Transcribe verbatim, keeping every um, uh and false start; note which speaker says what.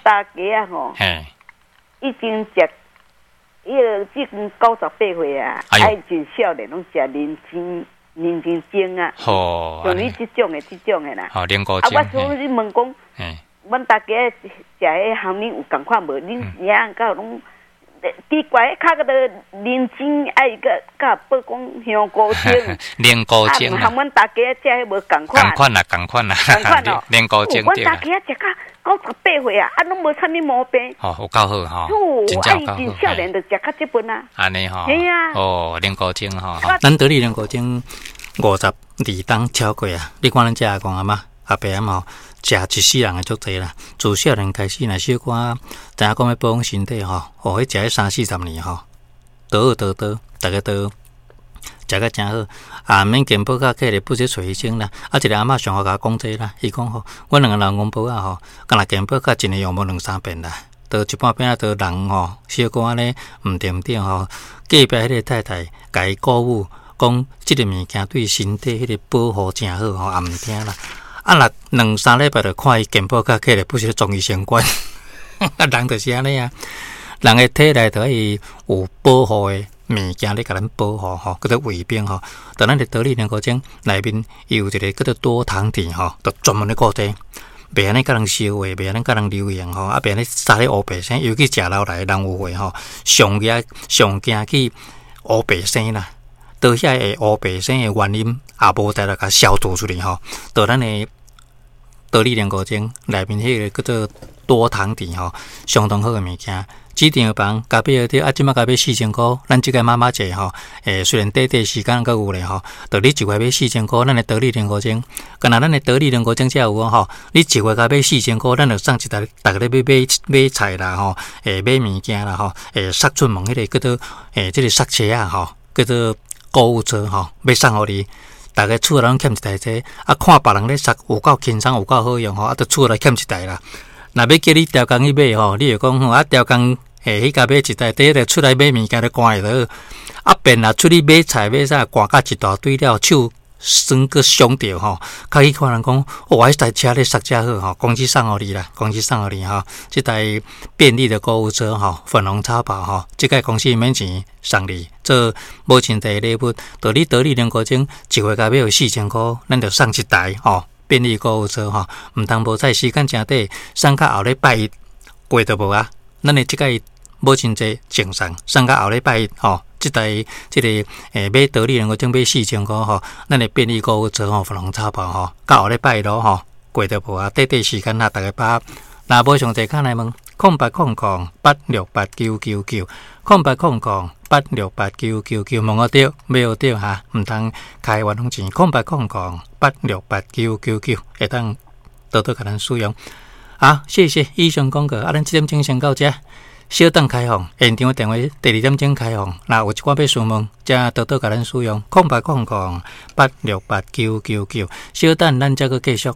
Speaker 1: 大家啊吼，
Speaker 2: 嘿，
Speaker 1: 已經食，伊個這陣九十八歲啊，
Speaker 2: 哎呦
Speaker 1: 啊，真少年攏食人參人參精啊，
Speaker 2: 好，
Speaker 1: 像你這種的這種的啦。
Speaker 2: 好，靈菇
Speaker 1: 啊，
Speaker 2: 精，
Speaker 1: 我想你問講，
Speaker 2: 嘿，
Speaker 1: 阮大家食彼含恁有仝款無？恁娘敢有攏奇怪，較個人參愛閣佮報講香菇精，
Speaker 2: 靈菇精
Speaker 1: 啊，含阮大家食彼無仝款。
Speaker 2: 仝款啦，仝款啦，
Speaker 1: 仝款哦，
Speaker 2: 靈菇精
Speaker 1: 阮大家食甲九十八歲啊，啊，攏無啥物毛病。
Speaker 2: 哦，有夠好吼，
Speaker 1: 哦，啊，伊真少年就食較這份啊。
Speaker 2: 按呢吼，
Speaker 1: 嘿啊。
Speaker 2: 哦，靈菇精吼，咱得力靈菇精五十二冬超過啊！你看咱這阿公阿嬤、阿伯阿嬤，食一世人的足濟啦。自少年開始，若小可知影講欲保養身體吼，哦，彼食彼三四十年吼，倒倒倒，逐家都食甲誠好，啊，免健保卡客咧，不是揣醫生啦。啊，一个阿嬤上號共我講這啦，伊講吼，阮兩個老公婆仔吼，敢若健保卡一年用無兩三遍啦。到一半變仔，都人吼，小可按呢毋對毋對吼，隔壁彼个太太共伊鼓舞，講這个物件對身體彼个保護誠好吼，也毋聽啦。啊，若兩三禮拜就看伊健保卡起來，不是莊醫生管。啊，人就是按呢啊，人的體內都愛有保護的物件咧，共咱保護吼，叫做衛兵吼。但咱的得力靈菇精內面有一個叫做多糖體吼，就專門咧顧這個。袂按呢共人燒話，袂按呢共人流言吼，啊，袂按呢三咧烏白生，尤其食落來人有話吼，上驚上驚去烏白生啦。到遐會烏白生的原因，也無得來共消除出去吼。到咱的得力靈菇精內面彼个叫做多糖體吼，相當好的物件。這張房共買著啊，這馬共買四千箍，咱這個媽媽節吼，欸，雖然短短時間閣有咧吼，著你一月買四千箍，咱的得力靈菇精，敢若咱的得力靈菇精才有吼，你一月共買四千箍，咱就送一台，逐家咧買買買菜啦吼，欸，買物件啦吼，欸，捒出門彼个叫做欸，這个捒車仔吼，叫做購物車吼，欲送予你。逐家厝內攏欠一台這，啊，看別人咧捒有夠輕鬆，有夠好用吼，啊，就厝內欠一台啦。若欲叫你調工去買吼，你會講吼，啊，調工欸，彼家買一台，第一個出來買物件就寒會著，啊，便若出去買菜買啥，寒甲一大堆了，手酸閣傷著吼，較去看人講，哦，彼台車咧捒遮好吼，公司送予你啦，公司送予你吼，這台便利的購物車吼，粉紅超跑吼，這個公司免錢送你做母親節禮物，著你得力靈菇精一月共買有四千箍，咱就送一台吼，便利購物車吼，毋通無彩時間誠短，送到後禮拜一過就無啊。咱的這個母親節贈送，送到後禮拜一吼，這台這个欸買得力靈菇精買四千箍吼，咱的便利購物車吼，粉紅超跑吼，到後禮拜一咯吼，過就無啊。短短時間啊，逐家把握。若無詳細，敲來問，空八空空八六八九九九，空八空空八六八九九九，問予著，買予著哈，毋通開冤枉錢，空八空空八六八九九九，會當多多共咱使用。好，謝謝以上廣告，啊，咱這點鐘先到這，小等開放，現場電話第二點鐘開放，若有一寡欲詢問，才多多共咱使用，空八空空八六八九九九，小等咱才閣繼續。